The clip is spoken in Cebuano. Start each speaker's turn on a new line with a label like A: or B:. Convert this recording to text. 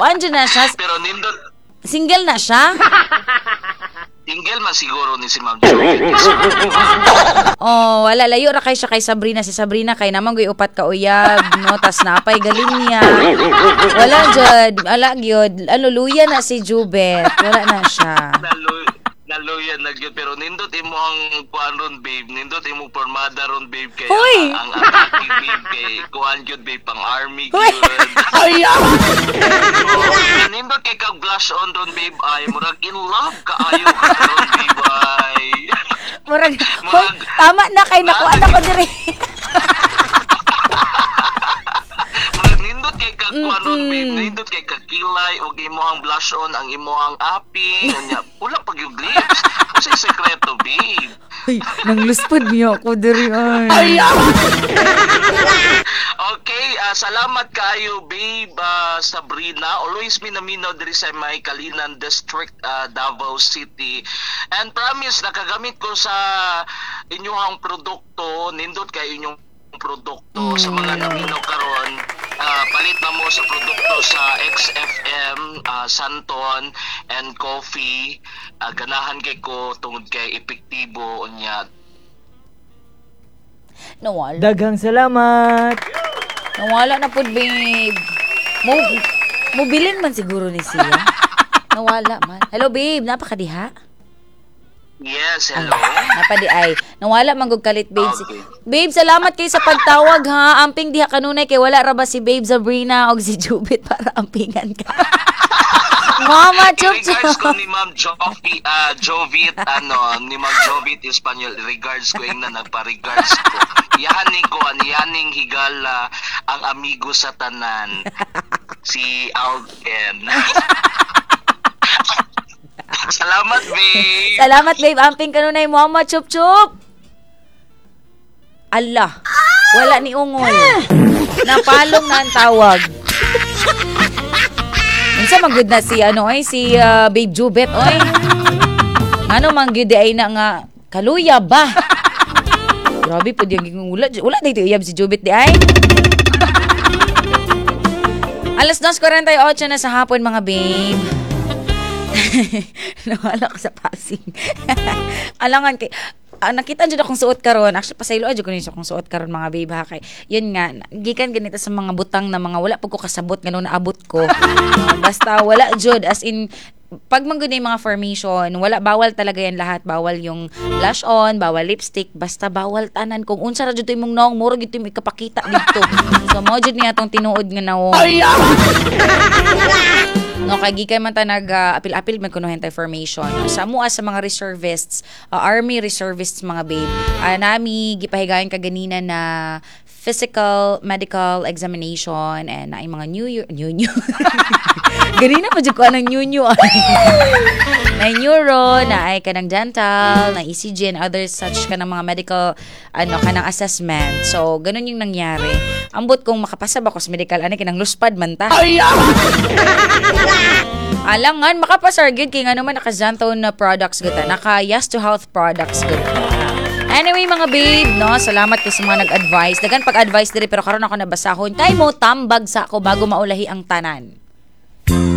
A: Kuan jud na siya.
B: Pero nindot.
A: Single na siya?
B: Single man siguro ni si Ma'am Jovit.
A: Oh, wala, layo ra kay siya kay Sabrina. Si Sabrina kay naman goy upat ka uyab, no, tas napay galing niya. Wala jud, wala gyud. Ano, luya na si Jubet. Wala na siya.
B: Naluyan na gyud, pero nindot imo ang kuan ron, babe, nindot imo pormada ron, babe, kay
A: Hoy!
B: ang atake, babe, kay kuan gyud, babe, pang army
A: Hoy!
B: gyud. Oh, nindot kay kag blush on ron, babe, ay murag in love kaayo ka ron, babe, ay.
A: Murag, hoy, tama na kay nakuha na ko diri.
B: Murag nindot kay kag kuan ron, babe, nindot kay kag kilay og imo ang blush on, ang imo ang aping, unya wala pa gyud lips. Unsay sekreto, babe?
A: Hoy, nangluspad niya ako diri ay.
B: Okay, salamat kaayo, babe, Sabrina. Always minaminaw diri sa may Kalinan District, Davao City. And promise, nakagamit ko sa inyong produkto, nindot kay inyong produkto. Sa mga naminaw karon, palit na mo sa produkto sa XFM, Santon and Coffee. Ganahan kay ko tungod kay epektibo unya.
A: Nawala.
C: Daghang salamat.
A: Nawala na pud, babe. Mo bilin man siguro ni siya. Nawala man. Hello, babe, napakadiha?
B: Yes, hello.
A: Napadi ay. Nawala man gud kalit, babe.
B: Okay.
A: Babe, salamat kay sa pagtawag ha. Amping diha kanunay kay wala ra ba si Babe Sabrina og si Jubit para ampingan ka. Mama chup
B: Regards ko
A: chup.
B: ni Ma'am Jovi, Jovit, ano, ni Ma'am Jovit Espanyol, regards ko yung na nagpa-regards ko. Yaning ko, yaning higala, ang amigo sa tanan, si Alden. Salamat, babe.
A: Salamat, babe. Amping kanunay, Mama chup chup. Allah. Wala ni ungol. Napalong na ang tawag. Unsa man gud na si ano ay si Babe Jubet oy. Ano man gyud ay na nga kaluya ba? Grabe pud yung wala wala dito iyab si Jubet di ay. Alas 2:48 na sa hapon, mga babe. Nawala ko sa passing. Alangan kay nakita jud akong suot karon. Actually, pasaylo jud ko niya akong suot karon, mga babe, ha, kay yun nga, gikan ganito sa mga butang na mga wala pud ko kasabot ngano naabot ko. Basta wala jud, as in pag man gud na yung mga formation, wala, bawal talaga yan lahat. Bawal yung blush on, bawal lipstick, basta bawal tanan. Kung unsa ra jud to imong naong, mura jud to imong ikapakita dito. So mao jud niya atong tinuod nga nawong. No, kay gikan man ta nag apil-apil man kuno hentay formation. Sa mua sa mga reservists, army reservists, mga babe. Nami gipahigayon kaganina na physical medical examination and naay mga new year, new new. Ganina pa jud ko anang new new ay. Na neuro, na ay kanang dental, na ECG and other such kanang mga medical ano kanang assessment. So ganun yung nangyari. Ambot kung makapasa ba ko sa medical ani kinang luspad man ta. Alangan, makapasar gyud kay ngano man naka Xanthone na products gud ta. Naka Yes to Health products gud ta. Anyway, mga babe, no, salamat kay sa mga nag-advise. Dagan pag-advise diri pero karon ako nabasahon. Kay mo tambag sa ako bago maulahi ang tanan.